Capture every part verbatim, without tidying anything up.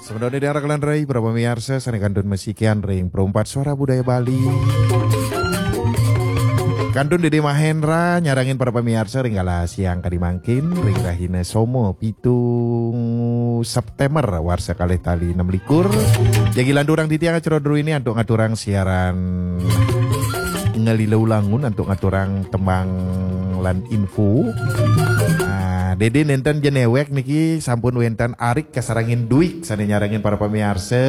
Semeton ida rakelan rai, para pamiarsa, sané kantun masikian ring Perumpat Suara Budaya Bali. Kantun Dede Mahendra nyarengin para pamiarsa ring galah siang kadi mangkin, ring rahina Soma pitu September warsa kalih tali enam likur. Jagi lanturang titiang acara druéné antuk ngaturang siaran ngalila ulangun antuk ngaturang tembang lan info. Nah, Dede nénten ja néwék niki sampun wénten Arik kasarengin Dwi sané nyarengin para pamiarsa.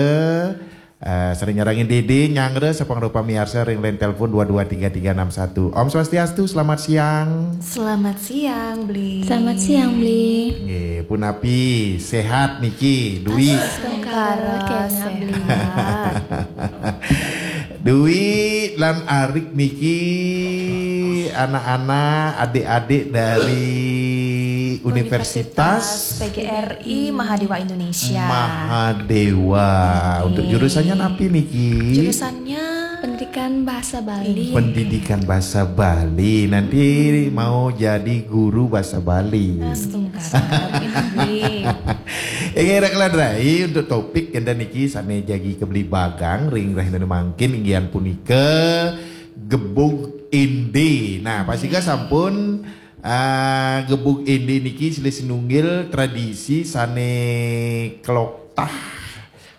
Eh, sané nyarengin Dede nyanggra sapangrupa miarsa ring line telepon dua dua tiga tiga enam satu. Om Swastiastu, selamat siang. Selamat siang, Bli. Selamat siang, Bli. Nggih, punapi, séhat niki, Dwi? Astungkara, kénak, Bli. Séhat. Dwi lan Arik niki anak-anak, adik-adik dari Universitas Universitas P G R I Mahadewa Indonesia. Mahadewa. Untuk Oke. Jurusannya napi niki? Jurusannya Pendidikan Bahasa Bali. Pendidikan Bahasa Bali. Nanti mau jadi guru bahasa Bali. Astungkara, Bli. Inggih, rakelan rai, untuk topik kita niki sané jagi kabligbagang ring rahina mangkin inggih punika gebug éndé. Nah, pastika sampun, ah, gebug éndé niki silih sinunggil tradisi sané kloktah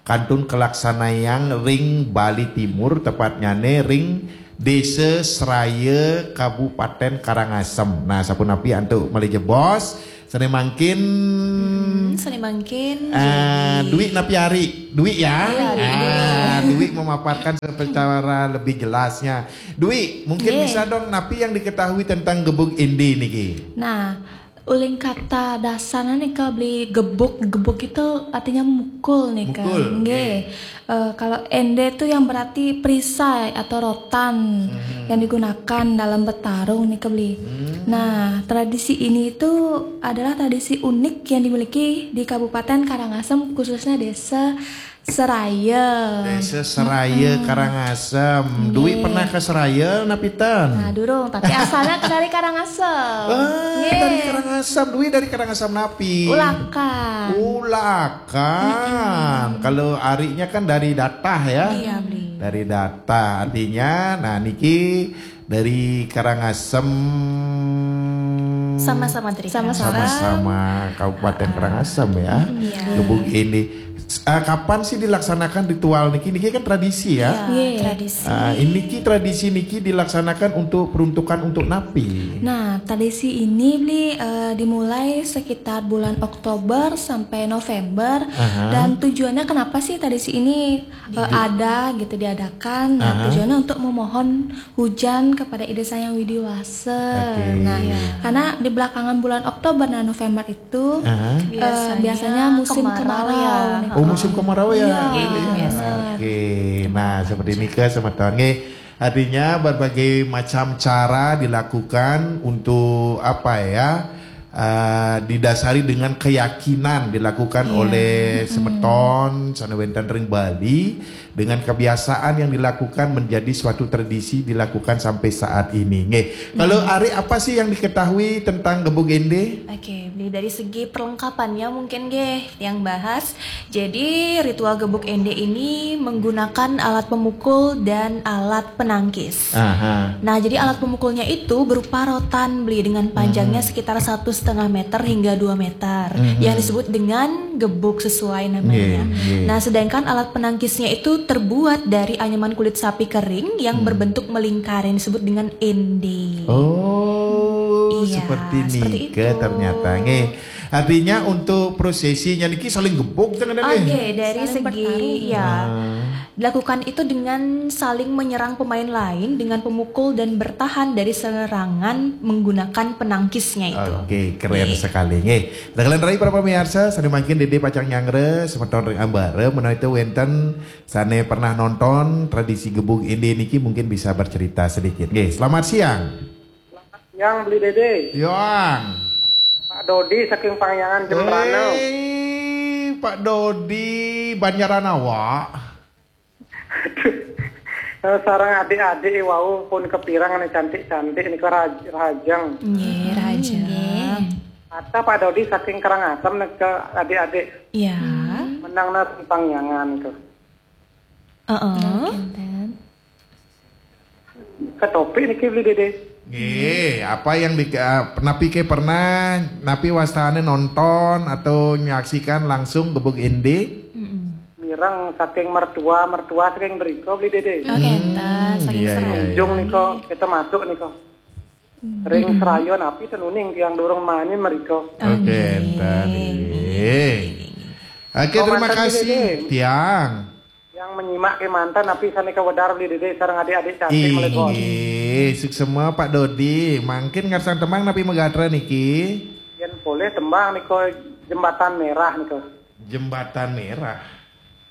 kantun kalaksanayang ring Bali Timur, tepatnyané ring Désa Seraya, Kabupatén Karangasem. Nah, sapunapi antuk malih jebos, sané mangkin, Hmm, sané mangkin, ah, jadi Dwi napi Ari? Dwi ya? Iya, Dwi. Ah, Dwi memaparkan secara lebih jelasnya. Dwi, mungkin Nggih. bisa dong, napi yang diketahui tentang gebug éndé niki? Nah, uling kata dasarnya nih, Kak, Bli, gebug. Gebug itu artinya mukul nih, Kak. Mukul, Nggih. oke. Eh, kalau éndé itu yang berarti perisai atau rotan Hmm. yang digunakan dalam bertarung nih, Kak, Bli. Hmm. Nah, tradisi ini itu adalah tradisi unik yang dimiliki di Kabupaten Karangasem, khususnya Desa Seraya. Desa Seraya, Mm-mm. Karangasem. Dwi Nggih. pernah ke Seraya, napi ten? Nah, durung, tapi asalnya ke dari Karangasem. Ah, Nggih. dari Karangasem. Dwi dari Karangasem napi? Ulakan. Ulakan. Mm-mm. Kalau Ariknya kan dari Datah ya? Iya, Bli. Dari Datah. Artinya, nah niki dari Karangasem. Sama-sama dari Sama-sama. Karangasem. Sama-sama Kabupaten Ah. Karangasem ya. Iya. Gebug éndé. S-, ah, kapan sih dilaksanakan ritual niki? Niki kan tradisi ya. Iya, Iya. tradisi. Ah, ini ki tradisi niki dilaksanakan untuk peruntukan untuk napi? Nah, tradisi ini, Bli, eh, dimulai sekitar bulan Oktober sampai November. Aha. Dan tujuannya kenapa sih tradisi ini, eh, Di- ada gitu, diadakan? Nah, Aha. tujuannya untuk memohon hujan kepada Ida Sang Hyang Widhi Wasa. Oke. Nah, Iya. karena di belakangan bulan Oktober dan November itu, Aha. eh, Biasanya biasanya musim kemarau kemarau ya. nih. Oh, musim kemarau ya? Iya. Iya, biasa. Oke. Nah, seperti nika semeton. Nggih. Artinya berbagai macam cara dilakukan untuk apa ya? Eh, didasari dengan keyakinan dilakukan Iya. oleh Mm-mm. semeton sané wénten ring Bali, dengan kebiasaan yang dilakukan menjadi suatu tradisi dilakukan sampai saat ini. Nggih. Kalau Mm-mm. Ari, apa sih yang diketahui tentang gebug éndé? Oke, Bli, dari segi perlengkapannya mungkin nggih yang bahas. Jadi, ritual gebug éndé ini menggunakan alat pemukul dan alat penangkis. Aha. Nah, jadi alat pemukulnya itu berupa rotan, Bli, dengan panjangnya Mhm. sekitar satu setengah meter hingga dua meter, Mhm. yang disebut dengan gebug sesuai namanya. Nggih, nggih. Nah, sedangkan alat penangkisnya itu terbuat dari anyaman kulit sapi kering yang Hmm. berbentuk melingkar, yang disebut dengan éndé. Oh, Iya, seperti seperti nika itu. ternyata. Nggih. Artinya untuk prosesinya niki saling gebug, jangan ada, Oke, nggih? dari Saling segi, bertarung. ya. Ah. Dilakukan itu dengan saling menyerang pemain lain dengan pemukul dan bertahan dari serangan menggunakan penangkisnya itu. Oke, keren Nggih. sekali. Nggih. Rakelan rai, para pamiarsa, sané mangkin Dede pacang nyanggra semeton ring ambara, menawi wénten sané pernah nonton tradisi gebug éndé niki mungkin bisa bercerita sedikit. Nggih, selamat siang. Siang, Bli Dede. Siang. Pak Dodi saking Pangyangan Jembrana. Hei, Pak Dodi, Banjaran awak. Aduh. Eh, sareng adik-adik wau pun kepirang nih, cantik-cantik nih, ke raj-, rajang. Nggih, Hmm, rajang. nggih. Kata Pak Dodi saking Karangasem nih ke adik-adik. Iya. Hmm. Nang na simpang nyangan tu. Heeh. Ketopik niki beli dede. Nggih, apa yang di, eh, napi ke pernah, napi wastane nonton atau menyaksikan langsung gebuk ende? Mireng saking mertua, mertua saking mriko beli dede. Oh, kenten, saking iya, serem. iya. Ujung niko, kita masuk niko. Ring serayon api tenuning tiang durung mani mriko. Oke, enten. Nggih. Oke, terima Komandan kasih, Dede. Tiang. Yang menyimak kemanten api sane kewedar beli dede sareng adik-adik cantik menika. Inggih, suksema Pak Dodi. Mangkin ngarsang tembang napi megatra niki? Yen boleh tembang niko jembatan merah niko. Jembatan Merah.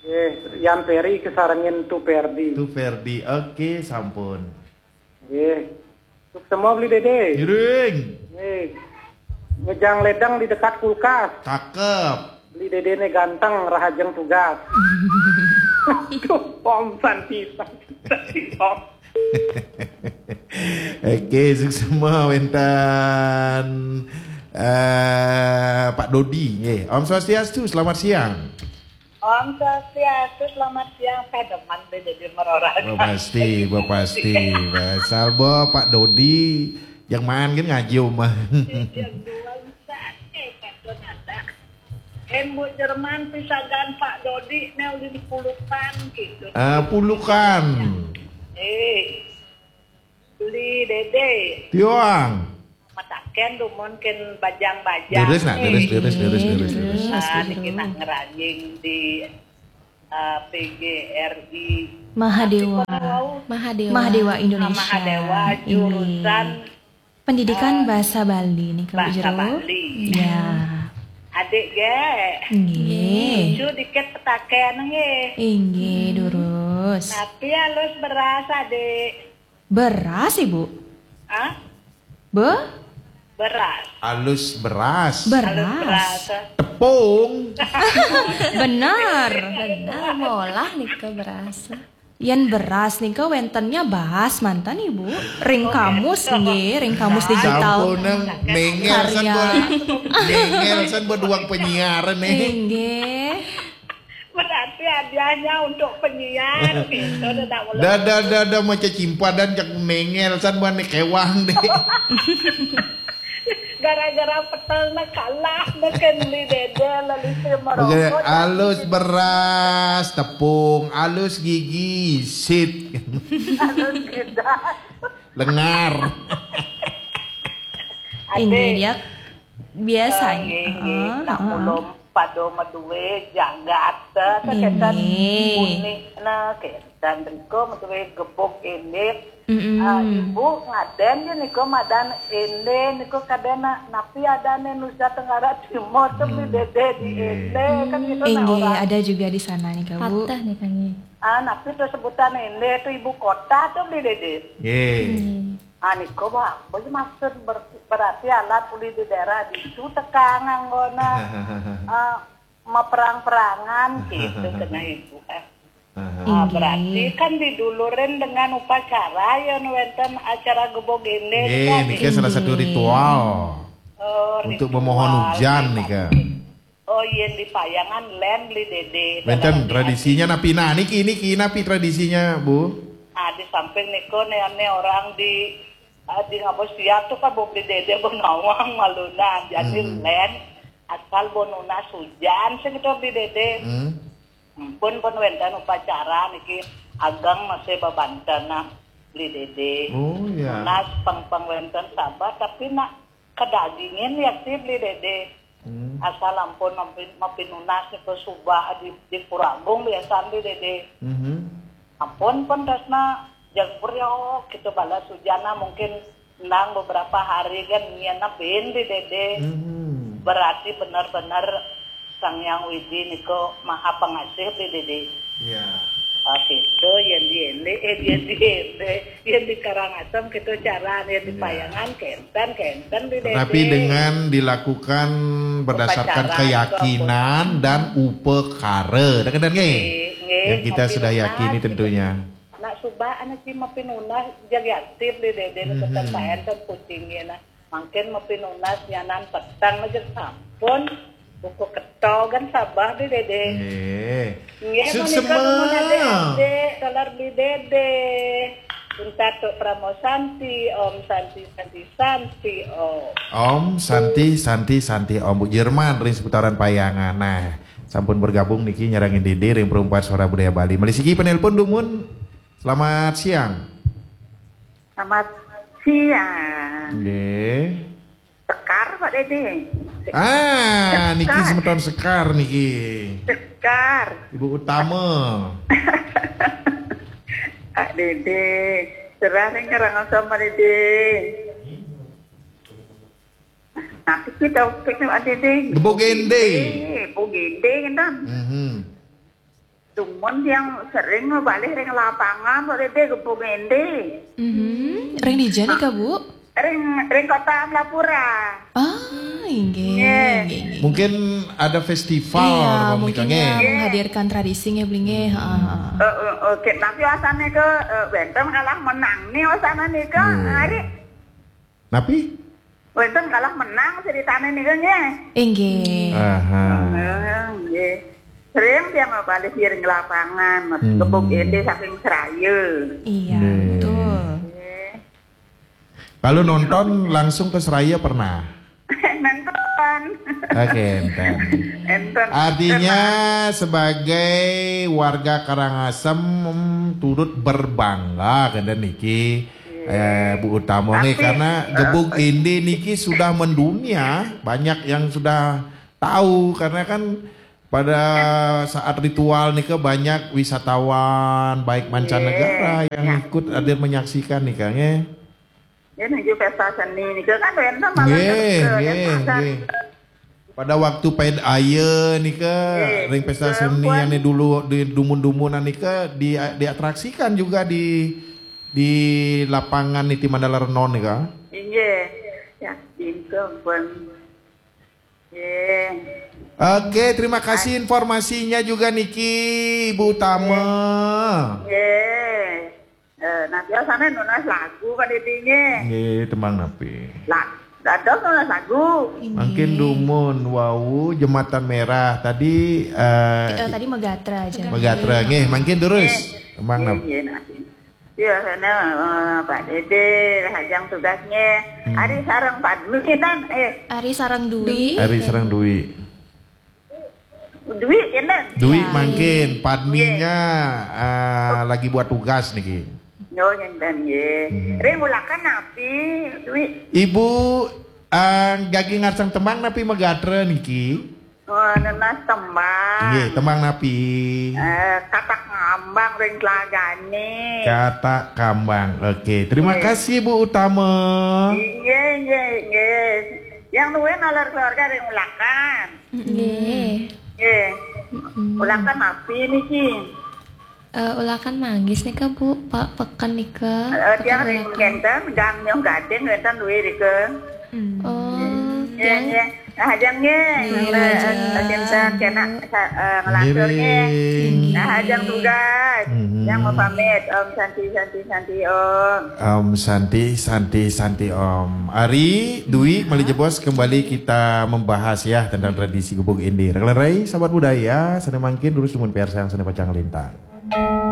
Eh, Yan Peri kesarengin Tu Perdi. Tu Ferdi. Oke, sampun. Eh, suksema beli dede. Miring. Eh, ngejang ledang di dekat kulkas. Cakep. Beli dede ne ganteng, rahajeng tugas. Aduh, Om Santi, Santi, Om. Oke, suksema wenten eh Pak Dodi nggih. Om Swastiastu, selamat siang. Om Swastiastu, selamat siang. Saya demen deh jadi merora. Bah pasti, bah pasti. Bah salbo Pak Dodi yang main kan ngaji omah. Yang dua bisa, eh, kata nada. Embu Jerman pisagan Pak Dodi, ne ulin pulukan gitu. Ah, pulukan. Eh, beli dede. Tiang. Mataken dumun ken bajang-bajang. Leres nak, eh. leres, leres, leres, leres, leres. Leres, Ah, leres. Niki nak ngerajing di ah, P G R I. Mahadewa. Tapi kalau Mahadewa. Mahadewa Ah, Indonesia. Mahadewa Inggih. jurusan Pendidikan bahasa Bali nih Kak bahasa Jero. Bali. Ya. Adik ge. Nggih. Lucu dikit petaken nggih. Inggih, durus. Tapi halus beras adik. Beras, Ibu? Hah? Be? Beras. Alus beras. Beras. Halus beras. Tepung. Benar, benar. Molah nika beras. Yen beras nika wentennya bahas mantan Ibu. Ring kamus nggih, ring kamus digital. Sampun nang mengel san Karya. Buat, mengel san buat duang penyiaran nih. Inggih. Berarti hadiahnya untuk penyiar gitu. Dah tak boleh. Dah dah dah dah macam cimpadan cak mengel san buat nih kewang deh. Gara-gara petel na kalah na kan beli dede lalu saya Oke, merokok. alus beras, tepung, alus gigi, sit. Halus kita. Lengar. Inggih, dia biasanya. Nggih, nggih. Heeh, Nak heeh. Ulun pada madue jagat ta ketan Nggih. Unik na ketan riko madue gebuk ini. Mm-mm. Ah, ibu ngaden je niko madan ende niko kadena napi adane Nusa Tenggara Timur tu beli dede di ende kan gitu nah Inggih, orang. Ada juga di sana nih Kak Bu. Patah nih kami. Ah, napi tu sebutan ende tu ibu kota tu beli dede. Ye. Ah, niko bah, boleh maksud ber- berarti alat uli di daerah di itu tekang anggona ah, maperang-perangan gitu kena ibu eh. Ah, berarti kan didulurin dengan upacara ya wenten acara gebog ini Ye, niki salah satu ritual Oh, untuk ritual memohon hujan gitu. nika. Oh, yen di payangan len beli dede. Wenten Dalam tradisinya napi nah niki niki napi tradisinya Bu? Ah, di samping niko ne, ne orang di ah, di ngabos siap tu kan beli dede benawang malunan. Jadi len asal bo nunas hujan sih gitu beli dede. Hmm. Ampun pun wenten upacara niki agang masih babanten nah beli dede. Oh ya. Nunas peng-peng wenten sabar tapi nak kedagingin ya sih beli dede. Hmm. Asal ampun mapi, mapi nunas niko subah di, di Pura Agung biasa beli dede. Mhm. Ampun pun tresna jagur yo kita balas hujan nah mungkin nang beberapa hari kan nyian bin di dede. Mhm. Berarti benar-benar Sang Yang Widi niko maha pengasih di dede. Ya. Ah, gitu, yang di ende, eh, yang di ende, yang di Karangasem gitu cara, yang di Payangan kenten, kenten di dede. Tapi dengan dilakukan berdasarkan Upacara, keyakinan dan upekara. Dah kenal nggih? Nggih, nggih, Yang kita mapi sudah nunas, yakini gitu. Tentunya. Nak subah anak si mapi nunas jadi aktif di dede Mhm. keten paen kan kucingnya nah. Mangkin mapi nunas nyanan petang aja sampun. Buku ketogen sabeh di Dede. Nggih. Nggih, Suk menika semua. Nuwun Dede, Dede, taler di Dede. Pun Datuk Pramo Santi, Om Santi, Santi, Santi, Om. Om Santi, Santi, Santi, Om. Bu Jerman ring seputaran Payangan. Nah, sampun bergabung niki nyarengin Dede ring Perempuan Suara Budaya Bali. Malih siki penelpon dumun. Selamat siang. Selamat siang. Nggih. Sekar, Pak Dede. Ah, niki Sekar. Semeton Sekar niki. Sekar. Ibu Utama. Pak Dede. Serah ring Karangasem, Pak Dede. Tapi kita pikir, Pak Dede. Gebuk Ende. Gebuk Ende, kan? Mhm. Dumun yang sering ngebalih ring lapangan, Pak Dede, Gebuk Ende. Mhm. Ring dija nih, Kak, Bu? Ring, ring kota Amlapura. Ah, inggih, Nggih. inggih, inggih. Mungkin ada festival Iya, apa mungkin menikahnya. Ya, menghadirkan tradisi nggih, beli nggih. Heeh. Eh, eh, oke, tapi wasane ke eh, wenten kalah menang nih wasane nih ke Hmm. hari Napi? Wenten kalah menang ceritane nih ke nggih. Inggih. Aha. Eh, nggih. Sering dia mau balik ring lapangan, Hmm. Gebuk Ende saking Seraya. Iya, Nggih. Betul. Nggih. Kalau nonton langsung ke Seraya pernah? Nonton. Oke, enten. Enten. Artinya sebagai warga Karangasem, mm, turut berbangga kenten niki, eh, Bu Utama nggih, Tapi, karena Gebuk Ende niki sudah mendunia, banyak yang sudah tahu karena kan pada saat ritual nika banyak wisatawan baik mancanegara yang Ya. ikut hadir menyaksikan nika nggih. Ya, nuju pesta seni nika kan wenten malah Nggih, ke- nggih, ke- nggih. Pada waktu Paid Aya nika Nggih, ring pesta nggih, seni ampun. yang dulu di dumun-dumunan nika di diatraksikan juga di di lapangan Niti Mandala Renon nika. Inggih. Ya, pintu pun. Nggih. Oke, terima kasih informasinya juga niki Ibu Utama. Nggih. Eh, nah, biasanya nulis lagu kan intinya. Nggih, tembang napi? Lah, dados nulis lagu. Mangkin dumun wau Jembatan Merah tadi eh Eh, tadi Megatra aja. Megatra nggih, mangkin terus. Tembang Nggih, napi? nggih, nah. Biasanya eh, Pak Dede, Rahajang tugasnya. Hmm. Ari sareng Padmi kan, eh, Ari sareng Dwi. Ari sareng Dwi. Dwi kan? Dwi Ya. mangkin, Padminya eh, lagi buat tugas niki. Yo, ngenten nggih. Hmm. Ring ulakan napi, Dwi? Ibu eh, gagi ngarsang tembang napi Megatra niki? Oh, nenas tembang. Nggih, tembang napi? Eh, katak ngambang ring telagane. Katak kambang. Oke, terima Nggih. kasih Bu Utama. Nggih, nggih, nggih. Yang nuwun naler keluarga ring ulakan. Nggih. Nggih. Ulakan napi niki? Eh, ulakan manggis nika, Bu, Pak, peken nika. Eh, tiang Peken ring ulakan. kenten, gang nyong gading wenten duwe rike. Oh, Nggih, tiang nggih. Nah, hajang nggih. Nggih, Nah, hajang. Hajang kena eh, ngelantur nggih. Nggih. Nah, hajang tugas. Mhm. Yang mau pamit, Om Santi, Santi, Santi, Om. Om Santi, Santi, Santi Om. Ari, Dwi, malih jebos kembali kita membahas ya tentang tradisi Gebuk Ende. Rekan-rekan, sahabat budaya, sane mangkin durus dumun piarsayang sane pacang lintang.